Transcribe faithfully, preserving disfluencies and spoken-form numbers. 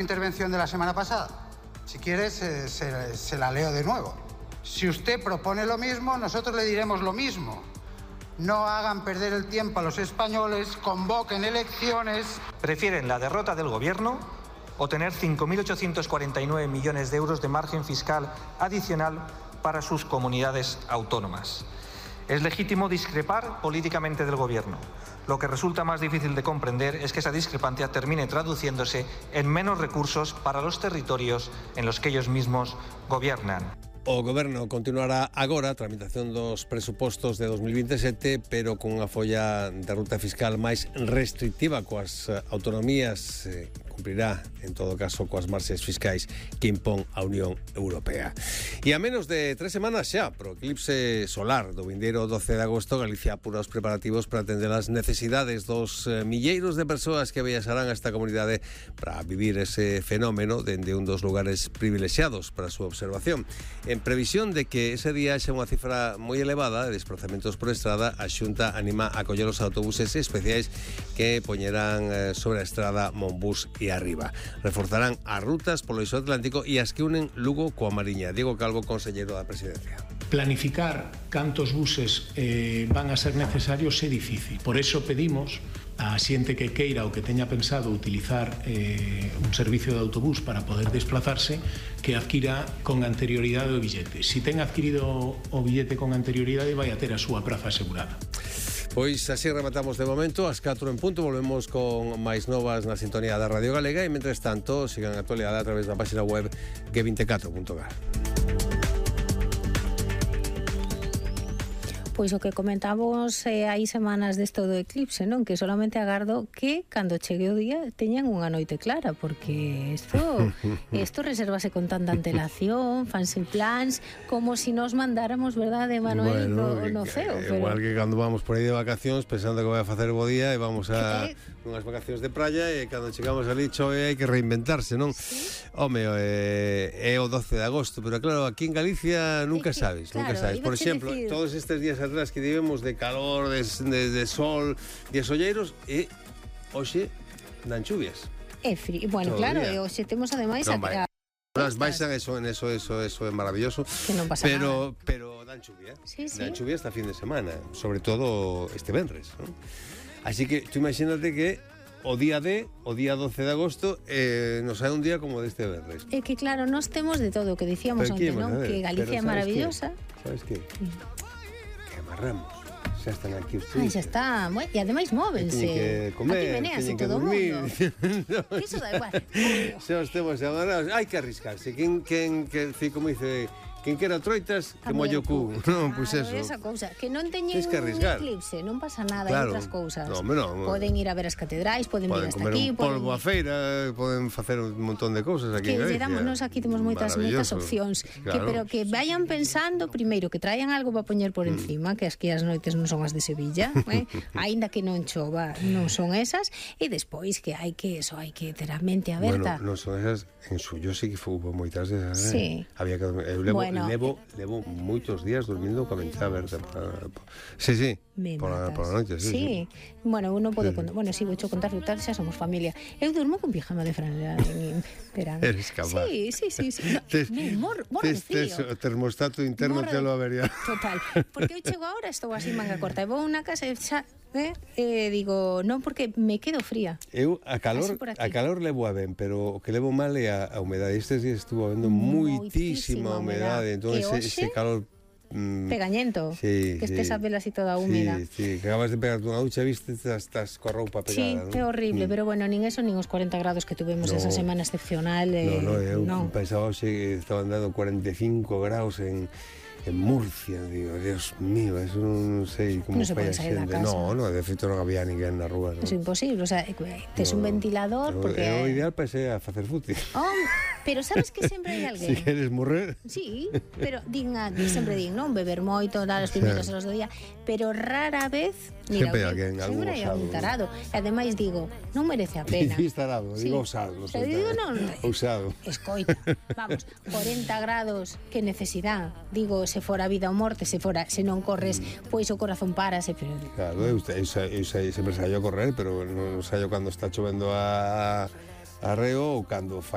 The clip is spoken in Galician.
Intervención de la semana pasada. Si quieres, eh, se, se la leo de nuevo. Si usted propone lo mismo, nosotros le diremos lo mismo. No hagan perder el tiempo a los españoles, convoquen elecciones. ¿Prefieren la derrota del gobierno o tener cinco mil ochocientos cuarenta y nueve millones de euros de margen fiscal adicional para sus comunidades autónomas? Es legítimo discrepar políticamente del gobierno. Lo que resulta más difícil de comprender es que esa discrepancia termine traduciéndose en menos recursos para los territorios en los que ellos mismos gobiernan. O Goberno continuará agora a tramitación dos presupostos de dos mil veintisiete, pero con unha folla de ruta fiscal máis restrictiva coas autonomías, eh, cumprirá, en todo caso, coas marxes fiscais que impón a Unión Europea. E a menos de tres semanas xa, pro eclipse solar do vindeiro doce de agosto, Galicia apura os preparativos para atender as necesidades dos eh, milleiros de persoas que viaxarán a esta comunidade para vivir ese fenómeno dende un dos lugares privilexiados para a súa observación. En previsión de que ese día xa unha cifra moi elevada de desplazamentos por estrada, a Xunta anima a coller os autobuses especiais que poñerán sobre a estrada Monbús e arriba. Reforzarán as rutas polo eixo atlántico e as que unen Lugo coa Mariña. Diego Calvo, conselleiro da Presidencia. Planificar cantos buses eh, van a ser necesarios é difícil. Por eso pedimos a xente que queira ou que teña pensado utilizar eh, un servicio de autobús para poder desplazarse, que adquira con anterioridade o billete. Si ten adquirido o billete con anterioridade, vai a ter a súa praza asegurada. Pois así rematamos de momento, ás catro en punto, volvemos con máis novas na sintonía da Radio Galega e, mentres tanto, sigan a actualidade a través da página web ge veinticuatro punto gal. Pois o que comentamos eh, hai semanas desto do eclipse, non? Que solamente agardo que cando chegue o día teñan unha noite clara, porque isto isto resérvase con tanta antelación, fanse plans, como si nos mandáramos, verdade, Manuel, bueno, no, no ceo. Pero... Igual que cando vamos por aí de vacacións pensando que vai a facer bo día e vamos a que... unhas vacacións de praia e cando chegamos ali chove hai que reinventarse, non? Sí. Home, eh, é o doce de agosto, pero claro, aquí en Galicia nunca es que, sabes, claro, nunca sabes. Por exemplo, decir... todos estes días atrás que tivemos de calor, de, de, de sol, de solleiros, e hoxe dan chuvias. É frío, bueno, todo claro, e hoxe temos ademais non, a... Las baixan, eso, en eso, eso, eso é maravilloso. Que non pasa pero, nada. Pero dan chuvia. Sí, sí. Dan chuvia hasta fin de semana, sobre todo este venres, ¿no? Así que tú imagínate que o día de, o día doce de agosto, eh, nos hai un día como deste venres. É que claro, nos temos de todo o que dicíamos onte, non? Que Galicia é maravillosa. Sabes que? Que amarramos. Xa están aquí os tristes. Ai, xa está. E ademais móvense. Teñen que comer, aquí venéase todo o mundo. no, Iso da igual. Xa os temos amarrados. Hai que arriscarse. Quen, quen, que, como dice... Quen quera troitas, que mollo cu. Non, pois eso. Esa cousa, que non teñen que un eclipse, non pasa nada, claro. Hai outras cousas. No, no, poden ir a ver as catedrais, poden, poden vir hasta aquí, poden poden polvo a feira, poden facer un montón de cousas aquí que en Galicia. Que nos aquí temos moitas moitas opcións, claro. Que pero que vayan pensando primeiro que traian algo para poñer por encima, mm. que as que as noites non son as de Sevilla, eh? Aínda que non chova, non son esas, e despois que hai que eso, hai que ter a mente aberta. Bueno, non son esas, en suyo sí que hubo moitas desas, sí. eh? Había que eu levo, bueno, levo, levo moitos días dormindo coa mente aberta. Sí, sí. Por la, por la noche, sí, sí. sí. Bueno, uno pode sí, contar, bueno, si sí, vou cho contar, tal, xa somos familia. Eu durmo con pijama de franela en verano. Eres capaz. Sí, sí, sí, sí. No, tes, mor, mor tes, de tes, o termostato interno te lo avería. Total. Porque eu chego agora, estou así manga corta, e vou a unha casa e xa, eh, eh, digo, non, porque me quedo fría. Eu a calor, a calor levo a ben, pero o que levo mal é a, a humedade. Estes días estuvo habendo moitísima humedade, entón ese, ese calor pegañento, sí, que estés sí, a vela así toda húmida. Sí, sí, que acabas de pegarte unha ducha, viste, estás coa roupa pegada. Sí, ¿no? É horrible, mm. pero bueno, nin eso, nin os cuarenta grados que tuvemos no, esa semana excepcional. Eh, no, no, eu no. pensaba hoxe que estaban dando cuarenta e cinco graus en en Murcia, digo, Dios mío, eso non sei como non se fai a xente. No, no, de feito non había ninguén na rúa. É no? Imposible, o sea, tes no, un ventilador no, porque... É o ideal para ser a facer fútbol. Oh, pero sabes que sempre hai alguén. Si queres morrer. Sí, pero din, sempre din, non? Beber moito, dar os primeros horas do día, pero rara vez... Mira, sempre hai alguén, algún sempre hai algún tarado. E ademais digo, non merece a pena. Dicís tarado, sí. Digo osado. No sei, digo, non, usado. Escoita, vamos, cuarenta grados, que necesidade. Digo, se fora vida ou morte, se fora, se non corres, mm. pois o corazón parase, pero... Claro, eu, eu, eu, eu sempre saio a correr, pero non saio cando está chovendo a, a reo ou cando fai